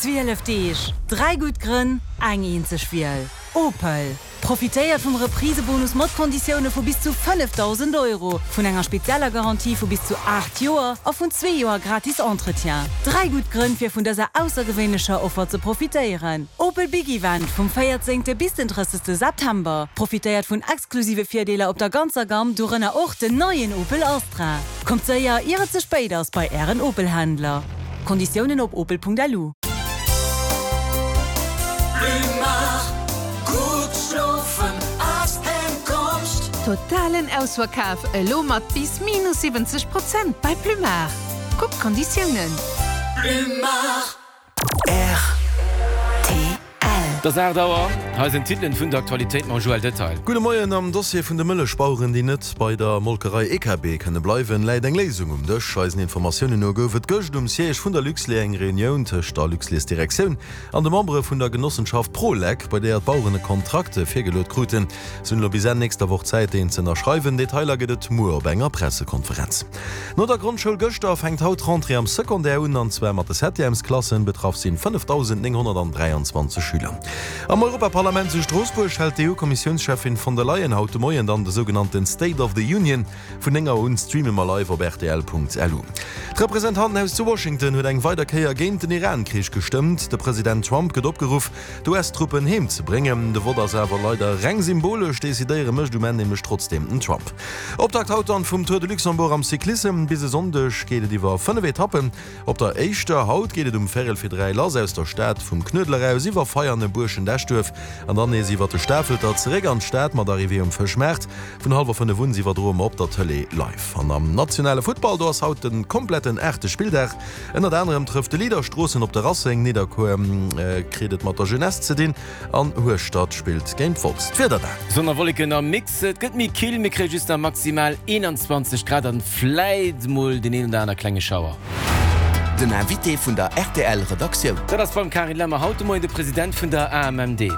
12 Deeg, 3 gutt Grënn, eng eenzeg Wiel, Opel! Profitéiert vum Reprisebonus mat Konditioune vu bis zu 5.000 Euro, vun enger spezieller Garantie vu bis zu 8 Joer a vun zwee Joer gratis Entretien. 3 gutt Grënn fir vun dëser aussergewéinlecher Offer ze profitéieren. Opel Big Event vum 14 bis den 30 September. Profitéiert vun exklusive Virdeeler op der ganzer Gamm, dorënner och den neien Opel Astra. Kommt séier, ier et ze spéit ass, bei Ären Opel-Händler. Konditiounen op opel.lu. Totalen Ausverkaf elo mat bis minus 70 Prozent bei Plumar. Kuck d'Konditiounen. Rtl. Et ass 8 Auer, hei sinn d'Titelen vun der Aktualitéit mam Joël Detail. Gudde Moien, Am Dossier vun de Mëllechbaueren, déi net bei der Molkerei EKB kënne bleiwen, läit eng Léisung um Dësch. Eisen Informatiounen no gouf et gëscht um Siège vun der Luxlait eng Reunioun tëscht der Luxlairsdirektioun an de Membere vun der Genossenschaft Prolec, bei deeër d'Baueren e Kontrakt virgeluet kruten. Se hunn elo bis Enn nächster Woch Zäit, deen z'ënnerschreiwen. Detailer gëtt et muer op enger Pressekonferenz. No der Grondschoul gëschter fänkt haut d'Rentrée am Secondaire un, an zwar mat de Septièmesklassen. Betraff sinn 5.923 Schüler. Am Europaparlament zu Stroossbuerg hält d'EU-Kommissiounscheffin von der Leyen haut de Moien dann de sougenannten State of the Union. Vun 9 Auer un streame mer live op rtl.lu. D'Representantenhaus zu Washington huet eng weider Kéier géint den Iran-Krich gestëmmt. De President Trump gëtt opgeruff, d'US-Truppen heem ze bréngen. De Vott ass awer leider reng symbolesch, decidéiere mécht um Enn nämlech trotzdeem den Trump. Optakt haut dann vum Tour de Luxembourg am Cyclissem. Bis e Sonndeg geet et iwwer 5 Etappen. Op der éischter haut geet et um Véirel fir 3 lass aus der Stad, vum Knuedler aus iwwer Veianen, Buerschent, Eschduerf an dann nees iwwer de Stafelter zeréck an d'Stad mat Arrivée um Fëschmaart. Vun hallwer 5 un iwwerdroe mer op der Tëlee live. An am nationale Futtball, do ass haut de kompletten aachte Spilldag. Ënnert anerem trëfft de Leader Stroossen op de Racing, Nidderkuer kritt et mat der Jeunesse ze dinn an Hueschtert spillt géint Wolz. D'Wieder dann. Sonn a Wolleken am Mix, et gëtt méi kill, mir kréie just nach maximal 21 Grad an vläit mol deen een oder aner klenge Schauer. Den Invité vun der rtl Redaktioun. Dat ass beim Carine Lemmer haut de Moien de President vun der AMMD.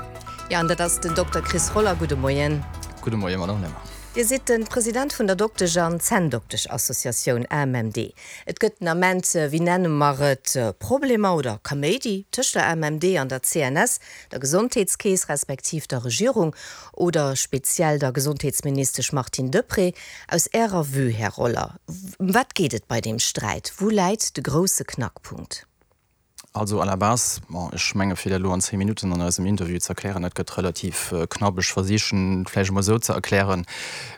Jo, an dat ass den Dokter Chris Roller. Gudde Moien. Gudde Moien, Madame Lemmer. Dir sidd de President vun der Doktesch an Zänndoktesch-Associatioun AMMD. Et gëtt den Ament, wéi nenne mer et, Problemer oder Kaméidi tëscht der AMMD an der CNS, der Gesondheetskeess, respektiv der Regierung oder speziell der Gesondheetsministesch Martine Deprez. Aus Ärer Vue, Här Roller, ëm wat geet et bei deem Sträit? Wou läit de grousse Knackpunkt? Also à la base, bon, ech menge fir dat elo an 10 Minutten an eisem Interview ze erklären, dat gëtt relativ knapp. Ech versichen et vläicht emol esou ze erklären,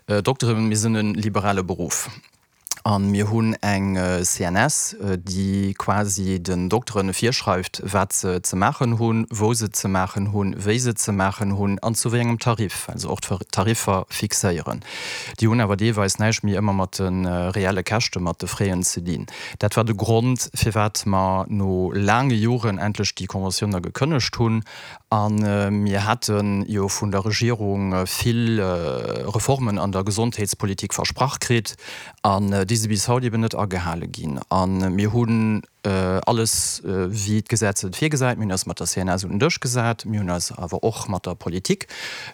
Dokteren, mir sinn e liberale Beruff a mir hunn eng CNS, déi quasi den Dokteren virschreift, wat se ze maachen hunn, wou se et ze maachen hunn, wéi se et ze maachen hunn an zu wéi engem Tarif, well se och d'Tariffer fixéieren. Déi hunn awer deelweis näischt méi ëmmer mat de reelle Käschte, mat de Fräen ze dinn. Dat war de Grond, firwat mer no laange Joren endlech déi Conventioun da gekënnegt hunn. A mir hate jo vun der Regierung vill Reformen an der Gesondheetspolitik versprach kritt, an déi si bis haut eben net agehale ginn. A mir hunn alles, wéi d'Gesetz et virgesäit, mir hunn eis mat der CNS un den Dësch gesat, mir hunn eis awer och mat der Politik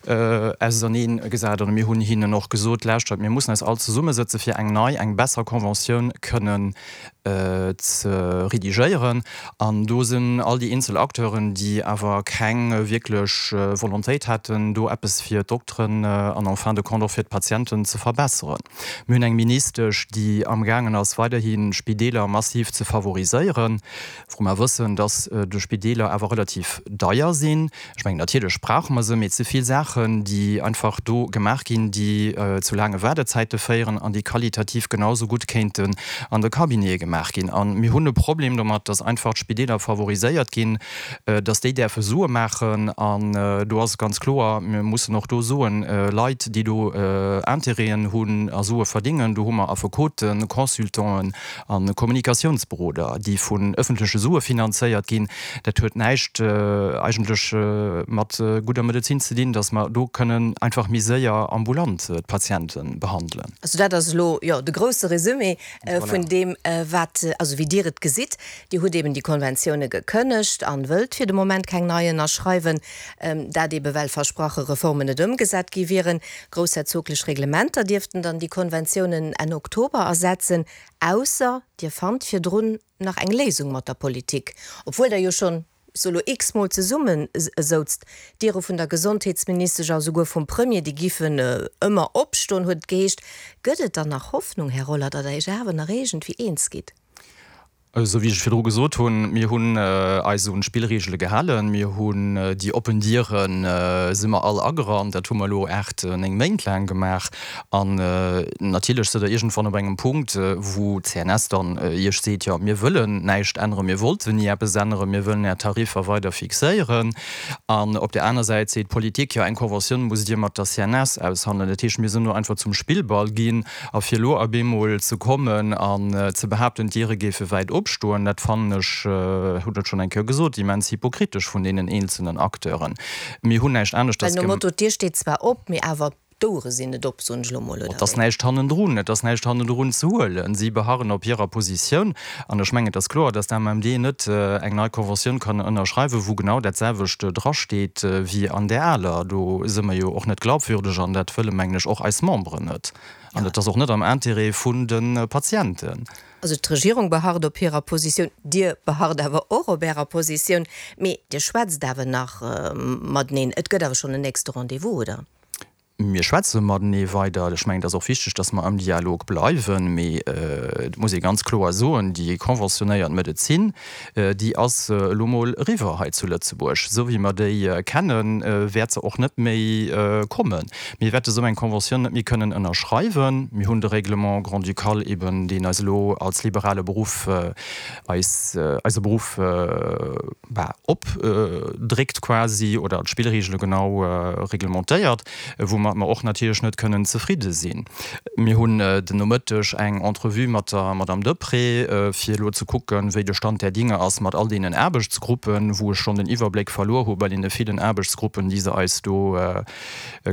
auserneen gesat an mir hunn hinnen och gesot, Lauschtert, mir mussen eis all zesummesëtze fir eng nei, eng besser Conventioun kënnen ze redigéieren. An do sinn all déi eenzel Acteuren, déi awer keng wierklech Volontéit haten, do eppes fir d'Dokteren an en fin de compte och fir d'Patienten ze verbesseren. Mir hunn eng Ministesch, déi amgaangen ass, weiderhi Spideeler massiv ze favoriséieren, wou mer wëssen, dass de Spideeler awer relativ deier sinn. Ech mengen, natierlech brauche mer se, mee et si vill Saachen, déi einfach do gemaach ginn, déi zu laange Waardezäite féieren an déi qualitativ genau sou gutt kéinten an de Cabinete gemaach ginn. A mir hunn e Problem domat, dass einfach d'Spideeler favoriséiert ginn, dass déi däerfe Sue maachen. An do ass et ganz kloer, mir mussen och do soen, Leit, déi do Intérêten hunn a Sue verdingen, do hu mer Affekoten, Consultanten a Kommunikatiounsberoder, déi vun ëffentleche Sue finanzéiert ginn. Dat huet näischt eigentlech mat gudder Medezin ze dinn, datt mer do kënnen einfach méi séier ambulant d'Patiente behandelen. Also dat ass elo, jo, de grousse Resumé vun deem, wat, also wéi Dir et gesitt. Dir hutt eben déi Konventioune gekënnegt an wëllt fir de Moment keng nei ënnerschreiwen. Dat ebe well versprache Reformen net ëmgesat gi wieren. Groussherzoglech Reglementer dierften dann déi Konventiounen Enn Oktober ersetzen, ausser Dir fannt virdrun nach eng Léisung mat der Politik, obwuel Der jo schonn. ech soe lo x-mol zesumme souzt. D'Diere vun der Gesondheetsministesch a souguer vum Premier, déi giffen ëmmer opstoen, huet et geheescht. Gëtt et dann nach Hoffnung, Här Roller, datt Der Iech awer nach iergendwéi eens gitt? Esou wéi ech virdru gesot hunn, mir hunn eis un d'Spillregele gehalen, mir hunn déi oppen Diere si mer all agerannt, dat hu mer elo 8, 9 Méint laang gemaach. An natierlech sidd Der iergendwann op engem Punkt, wou d'CNS dann Iech seet, jo mir wëllen näischt änneren, mir wollten ni eppes änneren, mir wëllen Är Tariffer weider fixéieren. An op där aner Säit seet d'Politik, jo eng Conventioun musst Dir mat der CNS aushandelen. Dat heescht, mir sinn do einfach zum Spillball ginn. A fir elo op eemol ze kommen an ze behaapten, d'Diere géife wäit opstoen, dat fannen ech, hunn et schonn eng Kéier gesot, immens hypokritesch vun deenen eenzelnen Acteuren. Mir hunn näischt aneschters Well nom Motto, d'Dier steet zwar op, mee awer d'Ouere sinn net op, soen ech elo mol, oder Et ass näischt hannendrun, et ass näischt hannendrun ze huelen. Si beharren op hirer Positioun. An ech mengen, et ass kloer, dass d'AMMD net eng nei Conventioun kann ënnerschreiwen, wou genau dat selwecht drasteet wéi an där aler. Do si mer jo och net glaubwürdeg an dat wëlle, mengen ech, och eis Memberen net. An et ass och net am Intérêt vun de Patienten. Also d'Regierung beharrt op hirer Positioun, Dir beharrt awer och op Ärer Positioun, mee Dir schwätzt awer nach mateneen. Et gëtt awer schonn en nächste Rendez-vous, oder? Mir schwätze matenee weider. Ech mengen, et ass och wichteg, dass mer am Dialog bleiwen. Mee et muss ee ganz kloer soen, déi conventionnéiert Medezin, déi ass elo mol eriwwer hei zu Lëtzebuerg. Esou wéi mer déi kennen, wäert se och net méi kommen. Mir wäerte esou eng Conventioun net méi kënnen ënnerschreiwen. Mir hunn de Règlement grand-ducal eben, deen eis elo als liberale Beruff eis eise Beruff, bah, opdréckt quasi oder d'Spillregele genau reglementéiert, woumat mer och natierlech net kënnen zefridde sinn. Mir hunn den Nomëtteg eng Entrevue mat der Madame Deprez, fir elo ze kucken, wéi de Stand der Dinge ass mat all deenen Aarbechtsgruppen, wou ech schonn den Iwwerbléck verluer hu bei deene villen Aarbechtsgruppen, déi se eis do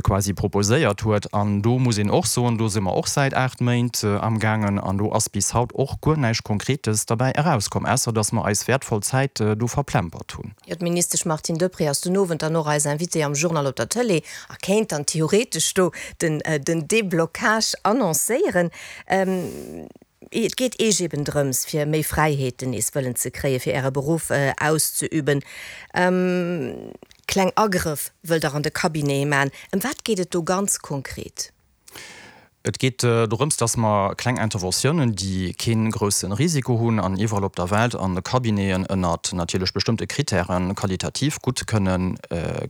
quasi proposéiert huet. An do muss een och soen, do si mer och säit 8 Méint amgaangen an do ass bis haut och guer näischt Konkretes derbäi erauskomm, ausser dass mer eis wäertvoll Zäit do verplempert hunn. Jo, d'Ministesch Martine Deprez ass den Owend dann och eis Invitée am Journal op der Tëlee a kéint dann theoretesch do den Deblocage annoncéieren. Et geet Eech eben drëms, fir méi Fräiheeten nees wëllen ze kréien, fir Äre Beruff auszeüben. Kleng Agrëff wëllt Der an de Cabinete man. Ëm wat geet et do ganz konkret? Et geet dorëms, dass mer kleng Interventiounen, déi kee grousse Risiko hunn an iwwerall op der Welt an de Cabineten ënnert natierlech bestëmmte Kritären qualitativ gutt kënne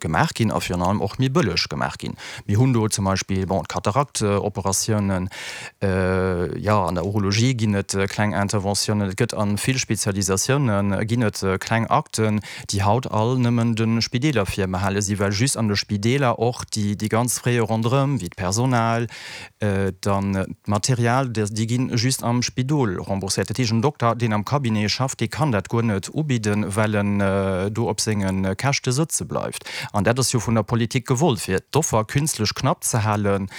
gemaach ginn a virun allem och méi bëlleg gemaach ginn. Mir hunn do zum Beispill, bon, d'Kataraktoperatiounen, jo, an der Urologie ginn et kleng Interventiounen, et gëtt a vill Spezialisatioune ginn et kleng Akten, déi haut all nëmmen de Spideeler virbehale sinn, well just an de Spideeler och déi ganz Frais ronderëm, wéi d'Personal, dann d'Material, déi gi just am Spidol rembourséiert. Dat heescht, en Dokter, deen am Cabinet schafft, dee kann dat guer net ubidden, well en do op senge Käschte sëtze bleift. An dat ass jo vun der Politik gewollt, fir d'Offer künstlech knapp ze halen,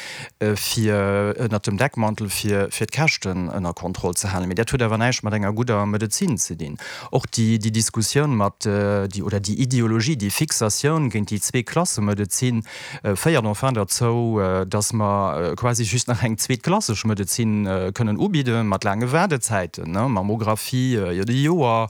fir ënnert dem Deckmantel, fir d'Käschten ënner Kontroll ze halen. Mee dat huet awer näischt mat enger gudder Medezin ze dinn. Och déi Diskussioun mat déi, oder déi Ideologie, déi Fixatioun géint déi Zweeklassemedezin féiert enfin derzou, datt mer quasi just nach eng zweetklasseg Medezin kënnen ubidde mat laange Waardezäiten, Mammographie iert e Joer,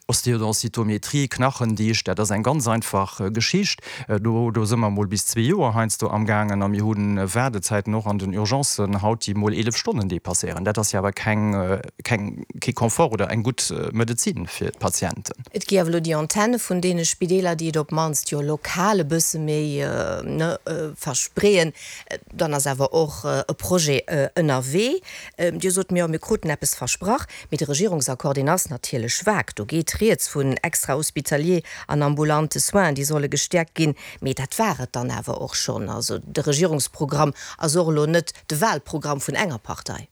Ostéodensitométrie, Knachendicht, dat ass eng ganz einfach Geschicht. Do do si mer mol bis zwee Joer heiansdo amgaangen a mir hu Waardezäiten och an den Urgencen haut, déi mol 11 Stonnen dépasséieren. Dat ass jo awer keng, keng, kee Confort oder eng gutt Medezin fir d'Patienten. Et gi awer elo déi Antenne vun deene Spideeler, déi et op d'mannst jo lokal e bësse méi, ne, verspreeën. Dann ass awer och e Projet ënnerwee. Dir sot, jo, mir kruten eppes versprach. Mee de Regierungsaccord, deen ass natierlech vag. Do geet rieds vun extra-hospitalier an ambulante Soins, déi solle gestäerkt ginn. Mee dat war et dann awer och schonn. Also de Regierungsprogramm ass och elo net de Wahlprogramm vun enger Partei.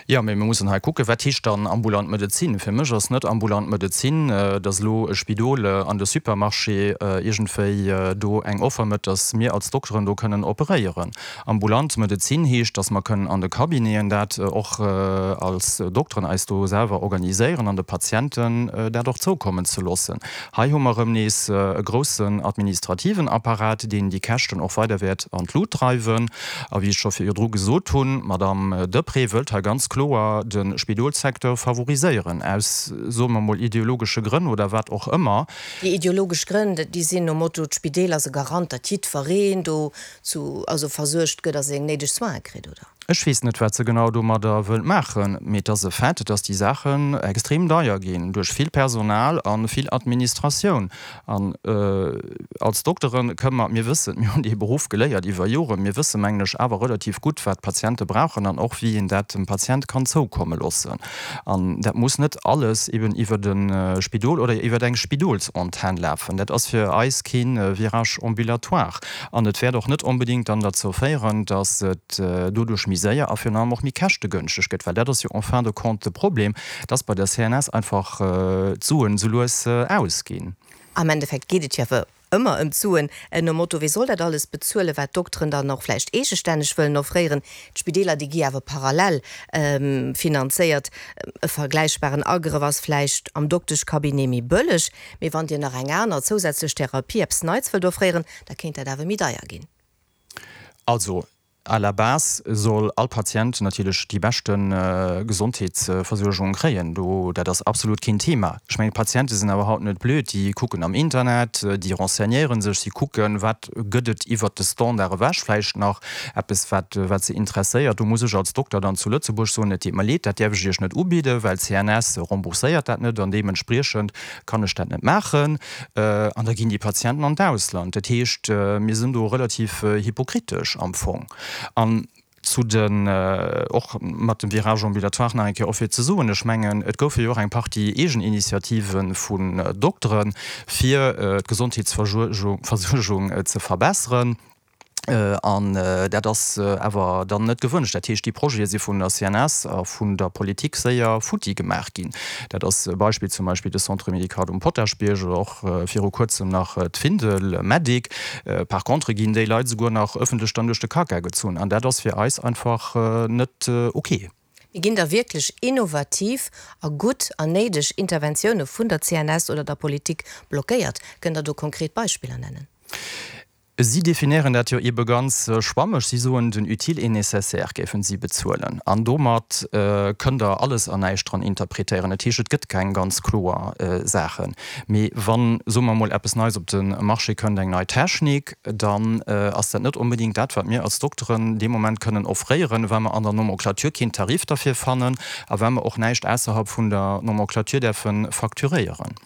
Jo, mee mir mussen hei kucken, Wat heescht dann ambulant Medezin? Fir mech ass net ambulant Medezin, dass elo e Spidol an de Supermarché iergendwéi do eng Offer mécht, dass mir als Dokteren do kënnen operéieren. Ambulant Medezin heescht, dass mer kënnen an de Cabineten dat och als Dokteren eis do selwer organiséieren an de Patienten dat och zoukommen ze loossen. Hei hu mer erëm nees e groussen administrativen Apparat, deen déi Käschten och weider wäert an d'Lut dreiwen. A wéi ech scho virdru gesot hunn, d'Madame Deprez wëllt hei. wëllt hei ganz kloer de Spidolssecteur favoriséieren, aus, soe mer emol, ideologesche Grënn oder wat och ëmmer. Déi ideologesch Grënn, déi sinn nom Motto, d'Spideeler ass e Garant, datt jiddwereen do zu, also versuergt gëtt a seng néideg Soine kritt, oder? Ech weess net, wat se genau domadder wëllt maachen, mee et ass e Fait, dass déi Saachen extrem deier ginn duerch vill Personal a vill Administratioun. An als Doktere kënne mer, mir wëssen, mir hunn dee Beruff geléiert iwwer Joren, mir wësse mengen ech awer relativ gutt, wat d'Patiente brauchen an och wéi een dat dem Patient kann zoukomme loossen. An dat muss net alles eben iwwer e Spidol oder iwwer eng Spidolsantenn lafen. Dat ass fir eis kee Virage ambulatoire. An et wäert och net onbedéngt dann derzou féieren, datt et doduerch méi séier a virun allem och méi käschtegënschteg gëtt, well dat ass jo en fin de compte de Problem, datt bei der CNS einfach d'Suen esou lues ausginn. Am Endeffekt geet et jo awer ëmmer ëm d'Suen, nom Motto, Wie soll dat alles bezuelen, wat d'Dokteren dann och vläicht eegestänneg wëllen offréieren? D'Spideeler, déi gi awer parallel finanzéiert. E vergläichbaren Agrëff ass vläicht am Dokteschcabinet méi bëlleg, mee wann Dir nach eng aner zousätzlech Therapie, eppes Neits wëllt offréieren, da kéint dat awer méi deier ginn. Also, à la base soll all Patient natierlech déi beschte Gesondheetsversuergung kréien. Do, dat ass absolut keen Thema. Ech mengen, d'Patiente sinn awer haut net blöd, déi kucken am Internet, déi renseignéiere sech, si kucken, wat gëtt et iwwert de Standard ewech vläicht nach eppes, wat, wat se interesséiert. Do muss ech als Dokter dann zu Lëtzebuerg soen, et deet mer leed, dat däerf ech Iech net ubidden, well d'CNS rembourséiert dat net an deementspriechend kann ech dat net maachen. An da ginn déi Patienten an d'Ausland. Dat heescht, mir sinn do relativ hypokritesch am Fong. An zu den, och mat dem Virage ambulatoire nach eng Kéier och fir ze soen, ech mengen, et goufe jo och eng Partie Eegeninitiative vun Dokteren, fir d'Gesondheetsversuergung ze verbesseren. An dat ass awer dann net gewënscht. Dat heescht, déi Projete si vun der CNS a vun der Politik séier futti gemaach ginn. Dat ass e Beispill zum Beispill de Centre médical um Potaschbierg oder och viru kuerzem nach d'Findel Medic. Par contre ginn déi Leit esouguer nach ëffentlech dann duerch de Kacka gezunn. An dat ass fir eis einfach net ok. Mee ginn da wierklech innovativ a gutt an néideg Interventioune vun der CNS oder der Politik blockéiert? Kënnt Der do konkret Beispiller nennen? Si definéieren dat jo ebe ganz schwammeg. Si soen, den utile et nécessaire géifen si bezuelen. An domat kënnt Der alles an näischt dran interpretéieren. Dat heescht, et gëtt keng ganz kloer Saachen. Mee wann, soe mer emol, eppes Neies op de Marché kënnt, eng nei Technik, dann ass dat net onbedéngt dat, wat mir als Dokteren dee Moment kënnen offréieren, well mer an der Nomenclature keen Tarif derfir fannen a well mer och näischt ausserhalb vun der Nomenclature däerfe facturéieren.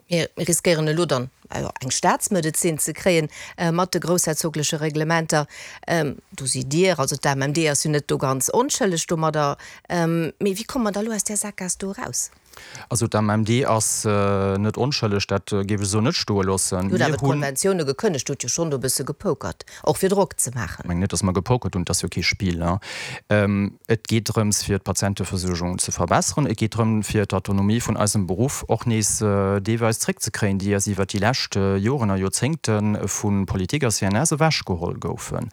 Mir riskéieren elo dann eng Staatsmedezin ze kréien mat de groussherzogleche Reglementer. Do sidd Dir, also d'AMMD ass jo net do ganz onschëlleg domadder. Mee wéi komme mer da elo aus där Sakgaass do eraus? Also d'AMMD ass net onschëlleg, dat géif ech esou net stoe loossen. Dir hutt awer d'Konventioune gekënnegt, hutt jo schonn do e bësse gepokert, och fir Drock ze maachen. Ech mengen net, datt mer gepokert hunn, et ass jo kee Spill. Et geet drëms, fir d'Patienteversuergung ze verbesseren. Et geet drëm, fir d'Autonomie vun eisem Beruff och nees deelweis zréckzekréien, déi eis iwwert déi lescht Joren a Joerzéngte vu Politik a CNS ewechgeholl goufen.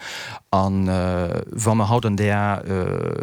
A wa mer haut an där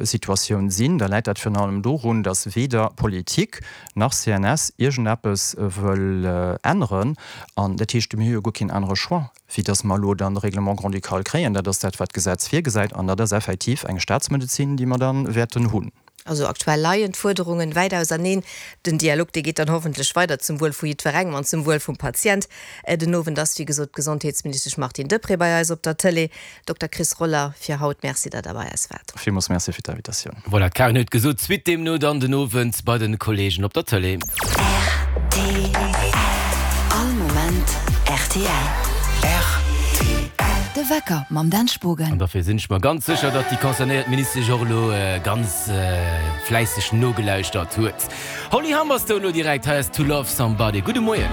Situatioun sinn, da läit dat virun allem dorun, datt weder Politik nach CNS iergendeppes wëll änneren. An dat heescht, mir hu jo guer keen anere Choix. wéi dass mer elo dann de Règlement grand-ducal kréien, dat ass dat, wat d'Gesetz virgesäit, an dat ass effektiv eng Staatsmedezin, déi mer da wäerten hunn. Also aktuell leien d'Fuerderungen wäit auserneen. Den Dialog, dee geet dann hoffentlech weider zum Wuel vu jiddwerengem an zum Wuel vum Patient. Den Owend ass, wéi gesot, d'Gesondheetsministesch Martine Deprez bei eis op der Tëlee. Dokter Chris Roller, fir haut Merci, datt Der bei eis waart. Villmools Merci fir d'Invitatioun. Voilà, d'Karen huet gesot, d'Suite deemno dann den Owend bei den Kollegen op der Tëlee. Rtl. All Moment rtl. Rtl. De Wecker mam Dan Spogen. An derfir sinn ech mer ganz sécher, datt déi concernéiert Ministesch och elo ganz fläisseg nogelauschtert huet. Holly Humberstone elo direkt, hei ass To Love Somebody. Gudde Moien.